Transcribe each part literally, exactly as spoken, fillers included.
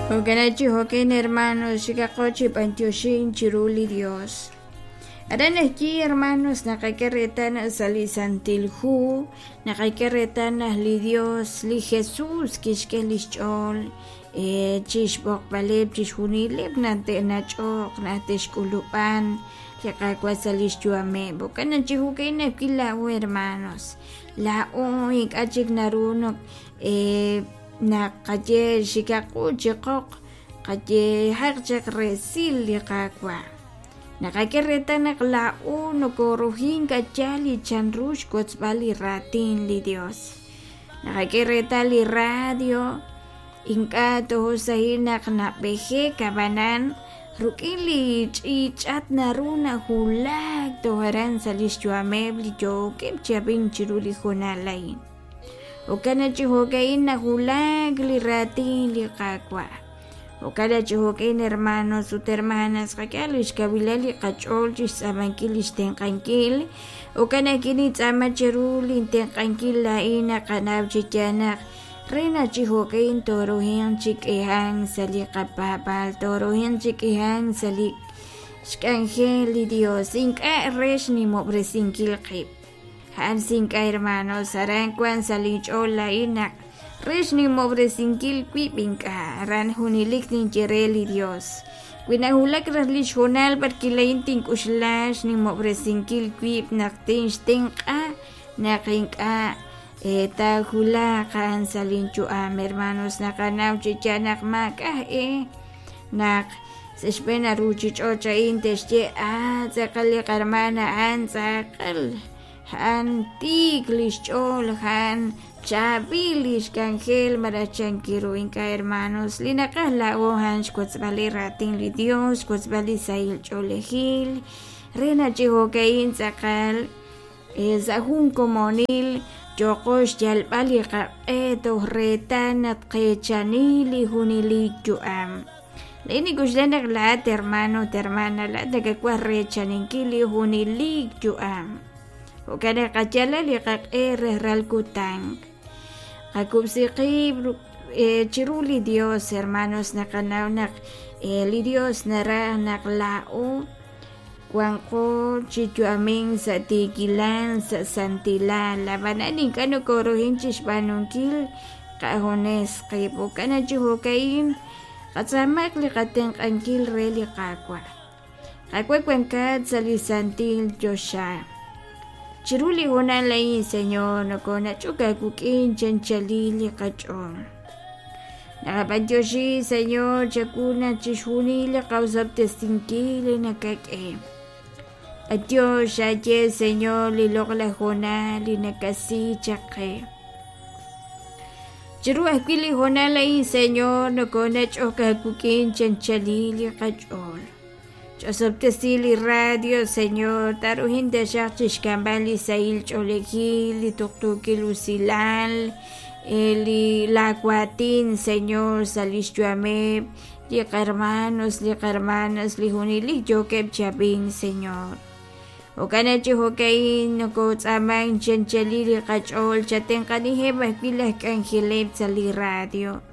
Jo'kan chi jo'kan hermanos xikaqo chi b'antioxin chiru li Dios. Aran ajwi' hermanos naqak'e reetal sa' li Santil Hu naqak'e reetal naq li Dios li Jesús kixk'e lix ch'ool chixb'oqb'aleb' chixjunileb' naq te'nach'oq naq te'xk'ulub'an li Qaawa' sa' lix yu'ameb'. Jo'kan chi jo'kan ajwi' laa'o hermanos laa'o ink'a' chik naru naq naqaye xikaqu chiqoq qayehaq chaq resil li Qaawa'. Naqak'e reetal naq laa'o nokorujin k'achal li chanru xwotzb'al li raatin li Dios. Naqak'e reetal li radio ink'a' tojosahil naq nab'ejek ab'anan ruk'in li ch'iich'at naru najulak toj aran sa' lix yu'ameb' li yookeb' chi ab'ink chiru li hoonal a'in. Jo'kan chi jo'ka'in najulak li raatin li Qaawa'. Jo'kan chi jo'ka'in hermanos ut hermanas qak'e lix kawilal li qach'ool chixtz'aamankil lix tenq'ankil. Jo'kan ajwi' nintz'aama cheru lintenq'ankil laa'in naqanaw chi yaal naq re naq chi jo'ka'in toruhin chi k'ihan sa' li qapaab'aal toruhin chi k'ihan sa' li xk'anjel li Dios ink'a' re xnimob'resinkil qib'. A'an sink'a hermanos aran wan sa' linch'ool laa'in naq re xnimob'resinkil wib' ink'a' aran junelik ninye re li Dios. Wi najulak raj lix hoonal b'arki laa'in tink'uxla xnimob'resinkil wib' naq tinxtenq'a naq ink'a' taajulaq a'an sa' linyu'am hermanos naqanaw chi yaal naq maak'a' eh naq sa' xb'een ruchich'och' a'in te'xye ah tz'aqal li qarmana a'an tz'aqal a'an tiik lix ch'ool a'an chaab'il lix k'anjel malaj chankiru ink'a' hermanos li naqaj laa'o a'an xwotzb'al li raatin li Dios xwotzb'al li sahil ch'oolejil re naq chi jo'ka'in tz'aqal sa' jun komonil yoqo xyalb'al li qaq'e toj reetal naq qechani li junelik yu'am. Laa'in nik'uxla naq laa'at hermano ut hermana laa'at nakawaj rechaninkil li junelik yu'am. Jo'kan naq qayala li qaq'e rejral kutan. Qakub'si qib' chiru li Dios hermanos naqanaw naq li Dios naraj naq laa'o wanqo chi yu'amin sa' tiikilal sa' santilal ab'anan ink'a' nokorujin chixb'aanunkil qajunes qib'. Jo'kan chi jo'ka'in qatz'aamaq li qatenq'ankil re li Qaawa'. Qaawa' wankat sa' li santil choxa. Chiru li hoonal a'in Señor nokonach'ok aawik'in chanchalil li qach'ool. Naqab'antioxi Señor chawu naq chixjunil li qawsab'tesinkil li nakak'e. B'antiox aye Señor li loq'laj hoonal li nakasi chaq qe. Chiru ajwi' li hoonal a'in Señor nokonach'ok aawik'in chanchalil li qach'ool. Ch'osob'tesi li radio Señor taruhin taxaq chixk'amb'al li sahil ch'oolejil li tuqtuukil usilal li laawatin Señor sa' lix yu'ameb' li qarmanos li qarmanas li junelik yookeb' chi ab'ink Señor. Jo'kan chi jo'ka'in nokotz'aaman chanchalil li qach'ool chatenq'aniheb' ajwi' laj k'anjeleb' sa' li radio.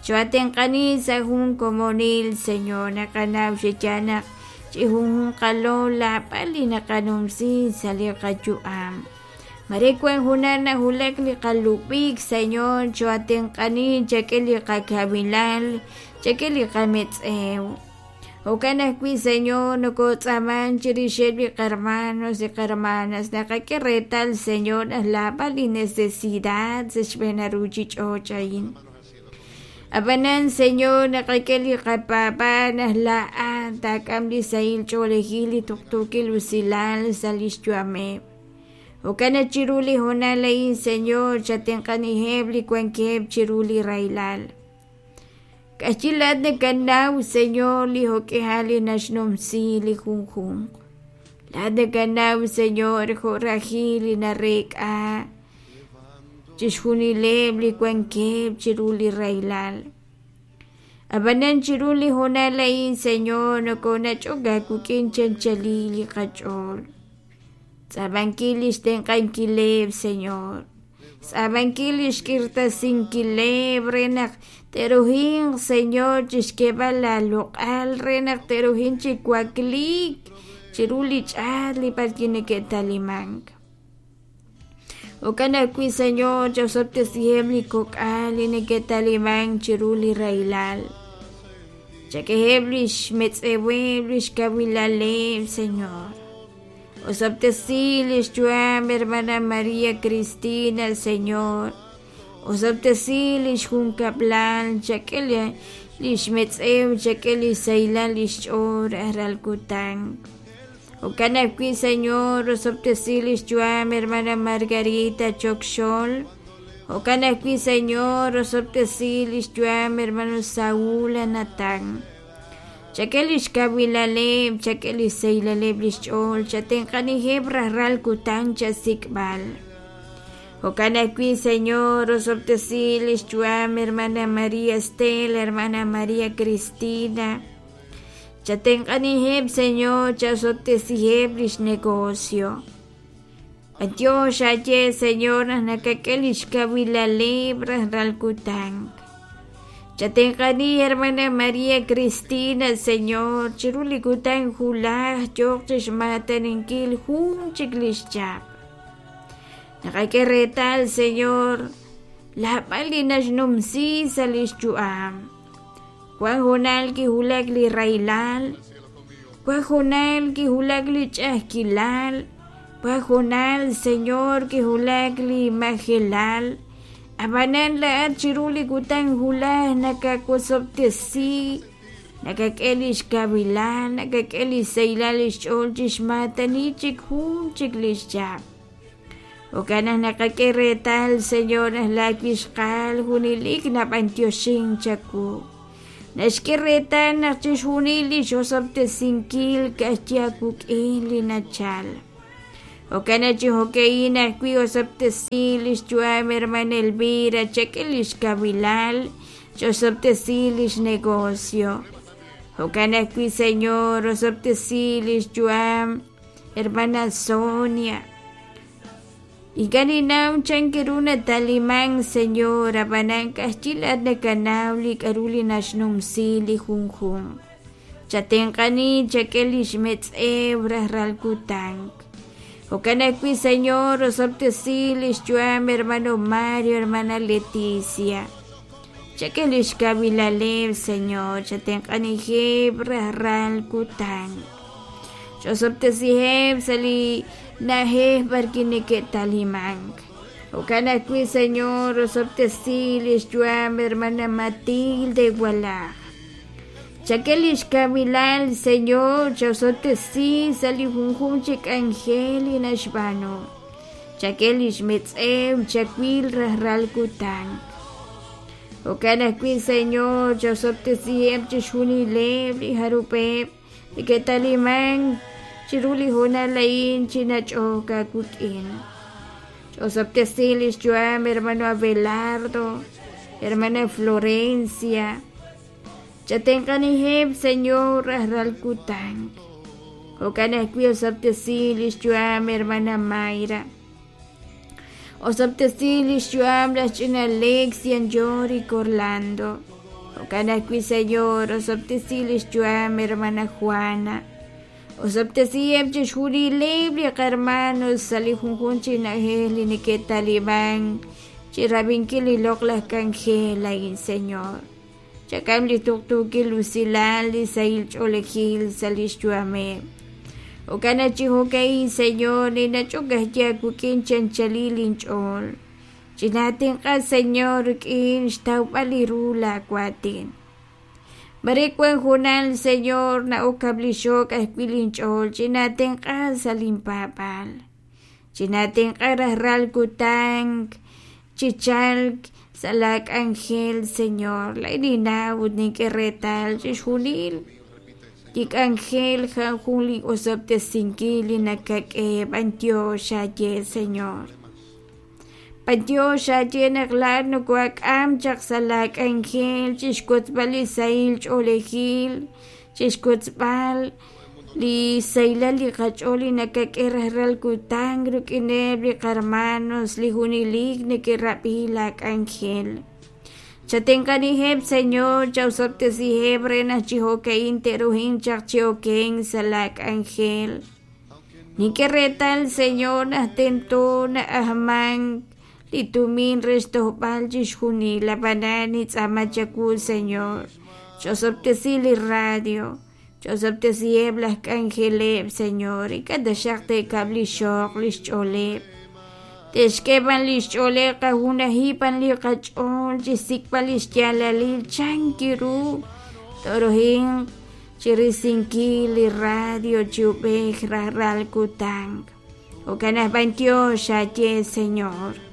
Choatenq'ani sa' jun komonil Señor naqanaw chi yaal naq chi junjunqalo laab'al li naqanumsi sa' li qayu'am. Mare wan junaq najulak li qalub'ik Señor choatenq'ani chak'e li qakawilal chak'e li qametz'ew. Jo'kan ajwi' Señor nokotz'aaman chirixeb' li qarmanos li qarmanas naqak'e reetal Señor naq laab'al li necesidad sa' xb'een ruchich'och' a'in. Ab'anan Señor naqak'e li qapaab'aal naq laa'at taak'am li sahil ch'oolejil li tuqtuukil usilal sa' lix yu'ameb'. Jo'kan naq chiru li hoonal a'in Señor chatenq'aniheb' li wankeb' chiru li rahilal. K'axyi laa'at nakanaw Señor li jo'k'ihal li naxnumsi li junjunq. Laa'at nakanaw Señor jo' rajil li nareek'a chixjunileb' li wankeb' chiru li rahilal. Ab'anan chiru li hoonal a'in Señor nokonach'ok aawik'in chanchalil li qach'ool. Tz'aamankil lix tenq'ankileb' Señor. Xtz'aamankil li xk'irtasinkileb' re naq te'ruhinq, Señor, chixk'eeb'al laaloq'al re naq te'ruhinq chi wakliik chiru li ch'aat li b'arwi' neke'talimank. Jo'kan ajwi', Señor, cha'osob'tesiheb' li kok'al li neke'talimank chiru li rahilal. Chak'eheb' li xmetz'eweb', li xkawilaleb', Señor. Osob'tesi li xyu'am hermana María Cristina, Señor. Osob'tesi li xjunkab'lal, chak'e li xmetz'ew, chak'e li xsahilal li xch'ool rajlal kutan. Jo'kan ajwi', Señor, osob'tesi li xyu'am hermana Margarita Chokxol. Jo'kan ajwi', Señor, osob'tesi li xyu'am hermano Saúl Natán. Chak'e li xkawilaleb', chak'e li xsahilaleb' li xch'ool, chatenq'aniheb' rajlal kutan chasik'b'al. Jo'kan ajwi', Señor, osob'tesi li xyu'am hermana María Estela, hermana María Cristina. Chatenq'aniheb', Señor, chasob'tesiheb' li xnegocio. B'antiox aye, Señor, naq nakak'e li xkawilaleb' rajlal kutan. Chatenq'ani, hermana María Cristina, Señor, chiru li kutan julaj yooq chixmaataninkil jun chik li xchap. Naqak'e reetal, Señor, laab'al li naxnumsi sa' li xyu'am. Wan junal kijulak li rahilal, wan junal kijulak li ch'a'ajkilal, wan junal, Señor, kijulak li majelal. Ab'anan la'at chiru li kutan julaj nakawosob'tesi, nakak'e li xkawilal, nakak'e li xsahilal li xch'ool chixmaatani chik jun chik li xchap. Jo'kan naq naqak'e reetal, Señor, naq laawixqal junelik nab'antioxin chawu. Naxk'e reetal naq chixjunil li xosob'tesinkil ka'ajchi awuk'in li nachal. Jo'kan naq chi jo'ka'in ajwi' osob'tesi li xyu'am hermana Elvira, chak'e li xkawilal, chosob'tesi li xnegocio. Jo'kan ajwi', Señor, osob'tesi li xyu'am hermana Sonia. Ink'a' ninnaw chan ru nataliman, Señor, ab'anan ka'ajchi laat nakanaw li k'a'ru li naxnumsi li junjunq. Chatenq'ani, chak'e li xmetz'ew rajlal kutan. Jo'kan ajwi', Señor, osob'tesi li xyu'am hermano Mario, hermana Leticia. Chak'e li xkawilaleb', Señor, chatenq'anijeb' rajlal kutan. Chosob'tesiheb' sa' li na'ajej b'arwi' neke'talimank. Jo'kan ajwi', Señor, osob'tesi li xyu'am hermana Matilde Walaj. Chak'e li xkawilal, Señor, chasob'tesi sa' li junjunq chi k'anjel li naxb'aanu. Chak'e li xmetz'ew, chawil rajlal kutan. Jo'kan ajwi', Señor, chasob'tesiheb' chixjunileb' li jarub'eb' neke'talimank chiru li hoonal a'in chi nach'ok aawik'in. Chosob'tesi li xyu'am hermano Abelardo, hermana Florencia. Chatenq'aniheb', Señor, rajlal kutan. Jo'kan ajwi' osob'tesi li xyu'am hermana Mayra. Osob'tesi li xyu'am laj ch'ina Alexian Yorick Orlando. Jo'kan ajwi', Señor, osob'tesi li xyu'am hermana Juana. Osob'tesiheb' chixjunileb' li qarmanos sa' li junjunq chi na'ajej li neke'talimank chi rab'inkil li loq'laj k'anjel a'in, Señor. Chak'am li tuqtuukil usilal li sahil ch'oolejil sa' li xyu'ameb'. Jo'kan naq chi jo'ka'in, Señor, ninach'ok ajwi' aawik'in chanchalil inch'ool. Chinaatenq'a, Señor, rik'in xtawb'al li ru laawaatin. Mare wan junal, Señor, na'ok kablixok ajwi' linch'ool, chinaatenq'a sa' linpaab'aal. Chinaatenq'a rajlal kutan chichalk sa' laak'anjel, Señor. Laa'in ninnaw ut nink'e reetal chixjunil li k'anjel jan jun li osob'tesinkil li nakak'e b'antiox aye, Señor. B'antiox aye naq laat nokoak'am chaq sa' laak'anjel chixkotzb'al li sahil ch'oolejil, chixkotzb'al Li sahilal li qach'ool li nakak'e rajlal kutan rik'ineb' li qarmanos li junelik neke'rab'i la k'anjel. Chatenq'aniheb', Señor, chawsob'tesiheb' re naq chi jo'ka'in te'ruhinq chaq chi okenk sa' la k'anjel. Nink'e reetal, Señor, naq tento na'ajmank li tumin re xtojb'al chixjunil, ab'anan nintz'aama chawu, Señor, ch'osob'tesi li radio, ch'osob'tesiheb' laj k'anjeleb', Señor, ink'a' taxaq te'kab' li xoq li xch'ooleb', te'xk'e b'an li xch'ooleb' qajunaji b'an li qach'ool chixsik'b'al li xyaalalil chan ru tooruhinq chirisinkil li radio chi ub'ej rajlal kutan. Jo'kan aj b'antiox xaye, Señor.